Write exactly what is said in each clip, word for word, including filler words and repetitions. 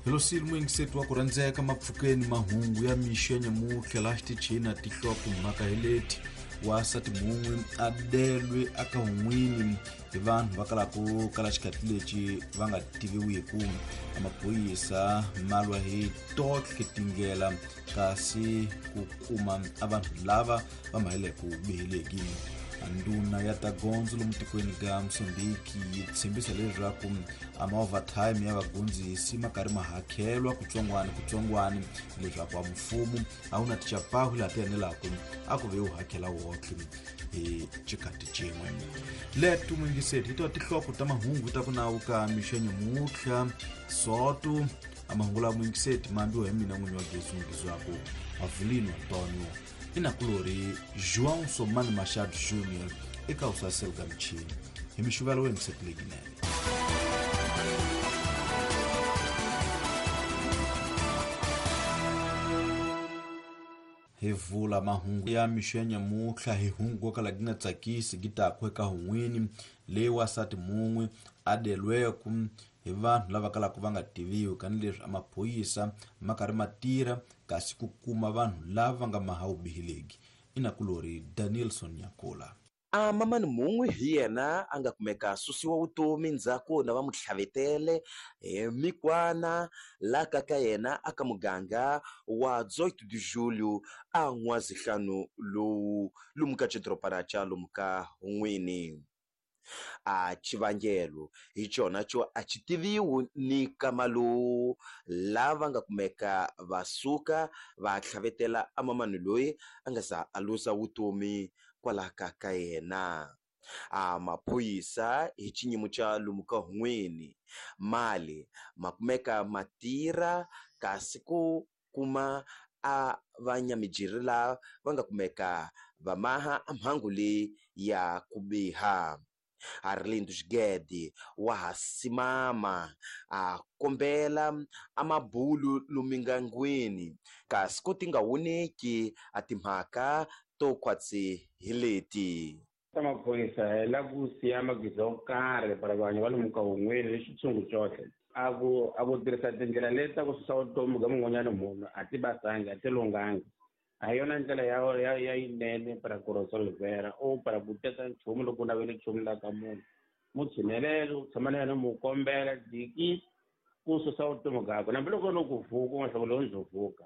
Helosile muyingiseti wa ku rhandzeka mapfukeni mahungu ya mixo ya nyamutlha laha xitichini na tihloko mhaka hi leti wasati mun'we a delwe aka hun'wini hi vanhu va kalaku kala xikhathi lexi va nga tiviwiku. Maphorisa ma lwa hi tohle tindlela kasi ku kuma a vanhu lava va maheleku biheleki. Ndhuna ya ta gondzo lomu tikweni ka Mozambique yi tshembisa leswaku a ma-overtime ya vagondzisi ma karhi ma hakelwa kutsongwana kutsongwana leswaku a mfumo a wu na tichapahu laha ti enelaka a ku ve wu hakela wotlhe hi xikhathi xin'we. Leto muyingiseti hi tona tinhloko ta mahungu ta ku nawu ka mixo ya nyamutlha soto a mahungu lawa muyingiseti ma ambiwa hi mina n'winyi wa gezi ngizwaku Avelino Antonio inakulori João Somani Machado Júnior eka usaselo ka michini hi mixuvelo wa yingiseti leyinene. Hi vula mahungu ya mixo ya nyamutlha hi hungu ko kala gi nga tsakisi gi taku eka hun'wini leyi wasati mun'we a delweku hi vanhu lava kalaka va nga tiviwi kanileswi a maphorisa ma karhi ma tirha kasi ku kuma vanhu lava va nga maha vubiheleki. Inakulori Danielson Nyakola. A mamani mun'we hi yena a nga kumeka susiwa vutomi ndzhaku na va mu tlhavetele hi mikwana la ka ka yena aka muganga wa dezoito de julho a n'wazihlanu lowu lomu ka xidorobana xa lomu ka Hun'wini. A xivangelo hi xona xo a xi tiviwi ni kama lowu lava nga kumeka va suka va tlhavetela a mamani loyi a nga za a luza vutomi kwala ka ka yena. A maphorisa hi xinyimo xa lomu ka Hun'wini mali ma kumeka ma tirha kasi ku kuma a vanyamijiri lava va nga kumeka va maha a mhangu leyi ya ku biha. Arlindo Xigede wa ha simama a kombela a mabulu lumingangwini kasi ku ti nga woneki a timhaka to khwatsi hi leti. Ta maphorisa hi la ku siya magiza yo karhi para vanhu va lomu ka Hun'wini ni xitshungu xohle a ku a ku tirhisa tindlela leti ta ku susa vutomi bya mun'wanyana munhu a ti basangi a ti lunghangi. A hi yona ndlela ya ya ya yinene para ku resolvera o para ku teka nchumu loko u navele nchumu la ka munhu mu tshinelele u tshama na yena mu kombela diki ku susa vutomi byakwe hambiloko no ku vuka u nga hloko lowu ndzo vuka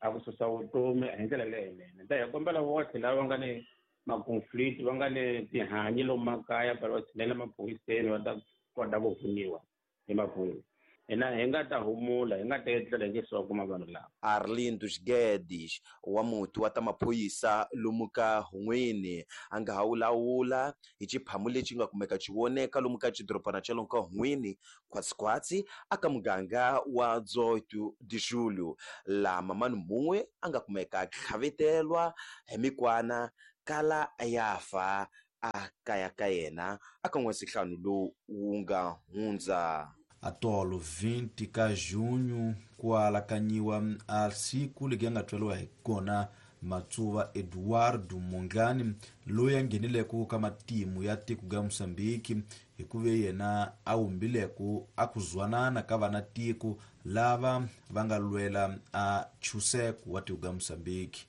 a ku susa vutomi hi ndlela leyinene. Ta hi kombela votlhe lava nga ni ma-conflict va nga ni tihanyi lomu makaya para va tshinela maphoriseni va ta kota ku pfuniwa hi maphorisa. Hina hi nga ta humula hi nga ta etlela hi nge se wa kuma vanhu lava. Arlindo Guedes wa muti wa ta maphorisa lomu ka Hun'wini a nga ha wulawula hi xiphamu lexi nga kumeka xi voneka lomu ka xidorobana xa lomu ka Hun'wini khwatsikhwatsi aka muganga wa dezoito de julho laha mamani mun'we a nga kumeka tlhavetelwa hi mikwana kala ya fa a kaya ka yena aka n'wesihlanu lowu wu nga hundza. Atolo vinte ka junho ku alakanyiwa a siku legi nga tweliwa hi kona Matsuva Eduardo Mondlane loyi a nghenileko ka matimu ya tiko ga Mozambique hi ku ve yena a wumbileko a ku zwanana ka vana tiko lava va nga lwela a chuseko wa tiko ga Mozambique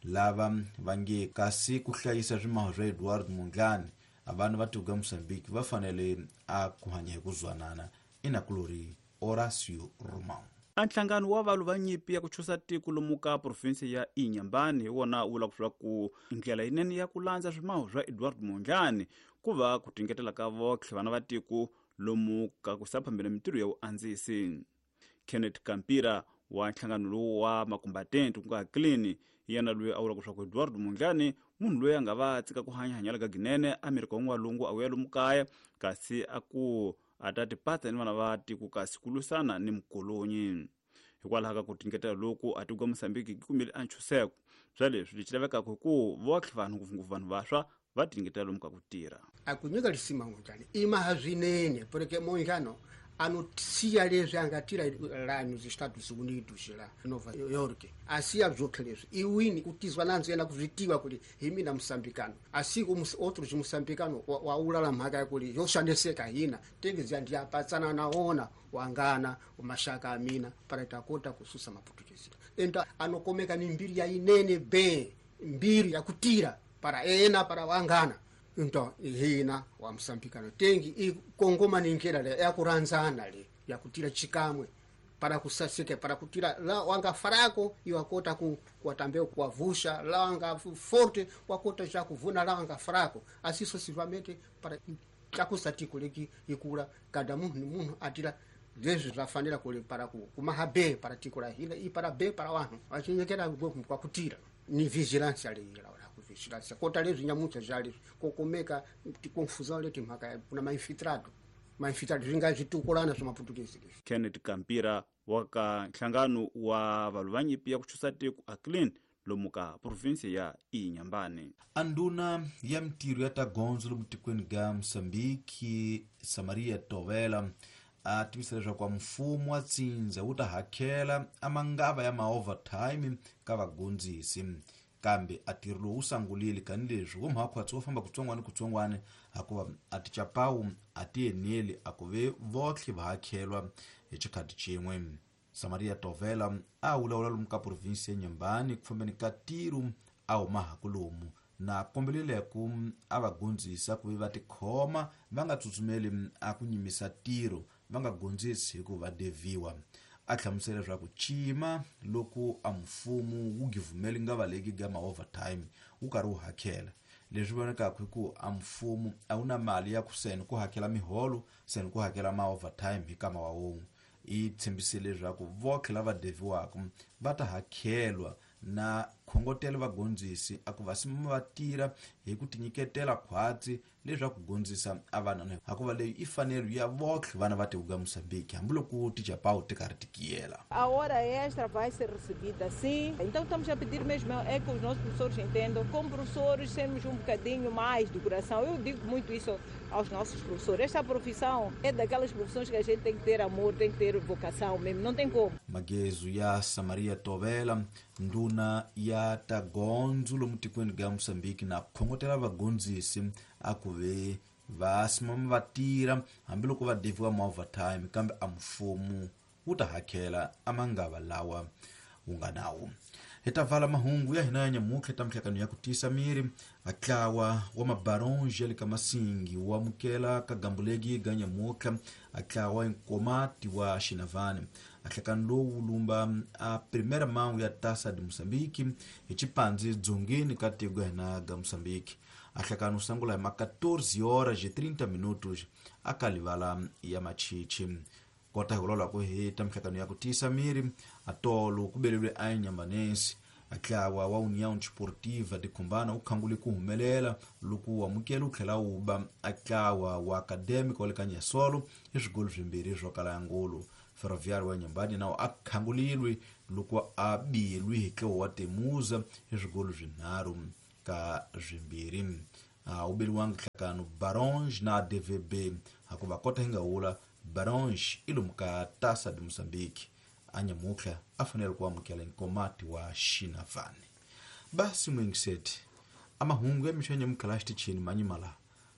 lava va nge kasi ku hlayisa swimaho swa Eduardo Mondlane a vanhu va tiko ga Mozambique va fanele a ku hanya hi ku zwanana. Inakulori Horacio Romão. A nhlangano wa valwu va nyimpi ya ku chusa tiko lomu ka provinsi ya Inhambane hi wona wu vula ku ku ndlela yinene ya ku landza swimaho swa Eduardo Mondlane ku va ku tingetela ka votlhe vana va tiko lomu ka ku sa phambela mintirho ya vuandzisi. Kenneth Kampira wa nhlangano lowu wa makumbatente ku nga clean yena loyi a vulaka leswaku Eduardo Mondlane munhu loyi a nga va tsika ku hanya hanyela ka ginene Amerika wa n'walungu a vuya lomu kaya kasi a ku a ta tipatsa ni vana va tiko kasi ku lwisana ni mukolonyi. Hikwalaho ka ku tingetela loku a tiko Mozambique yi kumile a ntshunxeko swa leswi lexi lavekaka hi ku votlhe vanhu ngopfungopfu vanhu vantshwa va tingetela lomu ka ku tirha. A ku nyika lisima Mondlane i maha swinene porque Mondlane Anotia leswi a nga tira la nos Estados Unidos la Nova York asiya byotlhe leswi iwini ku tizwa nandzu yena ku swi tiva kuri hi mina musambikano asi ku outros musambikano wa ulala mhaka ya kuri yo xaniseka hina tengezi ndiya patsana na ona wangana mashaka a mina para takota kususa maputukezi enta anokomeka ni mbiri ya inene be mbiri ya kutira para ena para wangana into hina wa msambikano tengi ikongoma ni njera le ya kuranzana le ya kutira chikamwe para kusasike para kutira la wanga farako iwakota ku kuatambeo kuavusha la wanga forte wakota cha kuvuna la wanga farako asiso sivamente para chakusatiko leki ikula kada munhu munhu atira leswi zvafanira kule para ku kumaha be para tiko la hina i para be para vanhu vachinyekera kwa kutira ni vigilance ali la vigilance kota leswi nyamucha zva kokomeka tikonfusão leti mhaka kuna mainfiltrado mainfiltrado swi nga switukulana swa maputukezi leswi. Kenneth Kampira wa ka nhlangano wa valwi va nyimpi ya ku chusa tiko a clean lomu ka provinsi ya Inhambane. Anduna ya mitirho ya ta gondzo lomu tikweni ga Mozambique Samaria Tovela a tivisa leswaku mfumo wa tsindza wu ta hakela a mangava ya ma-overtime ka vagondzisi kambe a ntirho lowu wu sangulile kanileswi wo mhakhwatsi wo famba kutsongwana kutsongwana hikuva a tichapawu a ti eneli a ku ve votlhe va hakhelwa hi xikhati xin'we. Samaria Tovela a vulavula lomu ka provinsi ya Inhambane ku fambeni ka ntirho a huma hakulomu na kombelile ku a va gondzisa ku va tikhoma va nga tsutsumeli a ku nyimisa ntirho va nga gondzisi hikuva deviwa. A hlamusela leswaku cima loko a mfumo wu givumeli nga valeki ga ma-overtime wu karhi wu hakela leswi vonakaka hi ku a mfumo a wu na mali ya ku seni ku hakela miholo seni ku hakela ma-overtime hi kama wa wun'we. I tshembisile leswaku votlhe lava deviwaka va ta hakelwa na khongotelo vagondzisi a ku va simama va tirha hi ku tinyiketela khwatsi leswaku gondzisa a vana hikuva leyi i fanelo ya votlhe vana va tiko ga Mozambique hambiloko tichapawu ti karhi ti kiyela. A hora extra vai ser recebida sim. Então estamos a pedir mesmo é que os nossos professores entendam, como professores sermos um bocadinho mais do coração. Eu digo muito isso aos nossos professores. Esta profissão é daquelas profissões que a gente tem que ter amor, tem que ter vocação mesmo, não tem como. Magezu ya Samaria Tovela nduna ya ta gondzo lomu tikweni ga Mozambique na khongotela vagondzisi a ku ve va simama va tirha hambiloko va deviwa ma-overtime kambe a mfumo wu ta hakela a mangava lawa wu nga nawo. Hi ta vala mahungu ya hina ya nyamutlha ta mihlakano ya ku tiyisa miri a tlawa wa mabaronge ya le ka Masingi wu amukela ka gambulegi ga nyamutlha a tlawa nkomati wa Xinavane. A nhlakano lowu wu lumba a primeira mão ya Taça de Moçambique hi xipandzi dzongeni ka tiko ya hina ga Moçambique. A nhlakano wu sungula hi ma quatorze horas e trinta minutos a ka livala ya Machichi. Kota hi vulavula ku hi ta mihlakano ya ku tiyisa miri a tolo ku beleriwe a Inhambanense a tlawa wa União Desportiva de Cumbana wu khangule ku humelela loko wu amukela wu tlhela wu ba a tlawa wa Acadêmico wa le ka Nyasolo hi swigolo swimbirhi swo kala ya ngulu. Ferroviário wa Inhambane nawo a khangulilwe loko a bilwi hi tlawa wa Temuza hi swigolo swinharhu ka swimbirhi. A wu beliwangi nhlakano Baronge na D V B hikuva kota hi nga wula Baronge i lomu ka Taça de Moçambique a nyamutlha a fanele ku amukela nkomati wa Xinavane. Basi mwingiseti a mahungu ya mixo ya nyamutlha la xitichini manyimala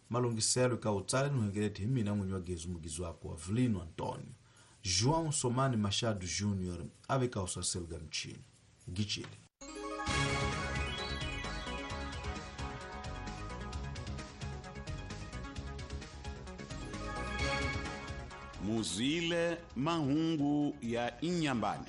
malunghiselo ka wu tsale ni huengeleti hi mina n'winyi wa Gezu mugizi wako wa Vilino Antonio João Somani Machado Júnior a veka usaselo ga mchini gichile. Muzile mahungu ya Inhambane.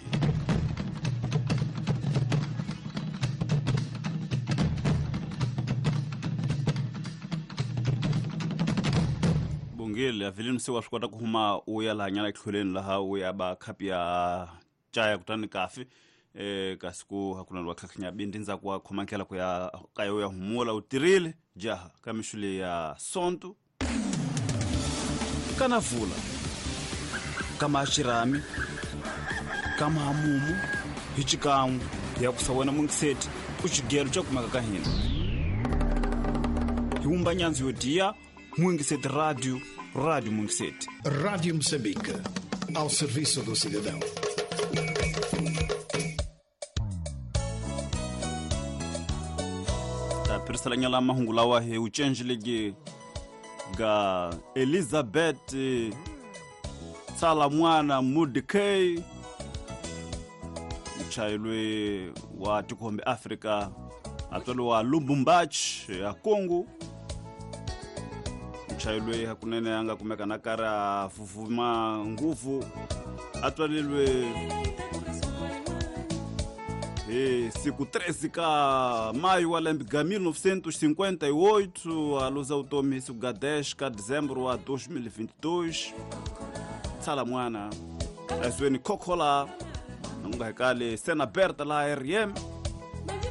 Bongile avilini se wa swi kota ku huma u ya laha nyana etlhelweni laha u ya ba khapi ya chaya kutani kafi eh kasi ku hakuna lwa khakhinya bindi ndzaku wa khoma ndlela ku ya ka yo ya humula u tirhile jaha ka mixule ya sonto kana vula kama xirami kama hamumu hi xikan'we ya ku sa wena mungiseti u xigelo xa kumeka ka hina hi wumba nyandzu yo diya mungiseti radio Rádio Moçambique. Rádio Moçambique, ao serviço do cidadão. Tapirisalanyala mahungu lawa hi ucenjiligi ga Elizabeth Tsala mwana Mudikei, mchayilwe wa tikombe Afrika, atwalo wa Lubumbashi ya Kongo. Mchayilwe hakunene anga kumeka nakara fufuma nguvu, atwalilwe e siku treze ka maio wa lembe ga mil novecentos e cinquenta e oito, a luz automi siku ga dez ka dezembro a dois mil e vinte e dois. Tsala mwana azweni kokola nunga hekale sena aberta la R M.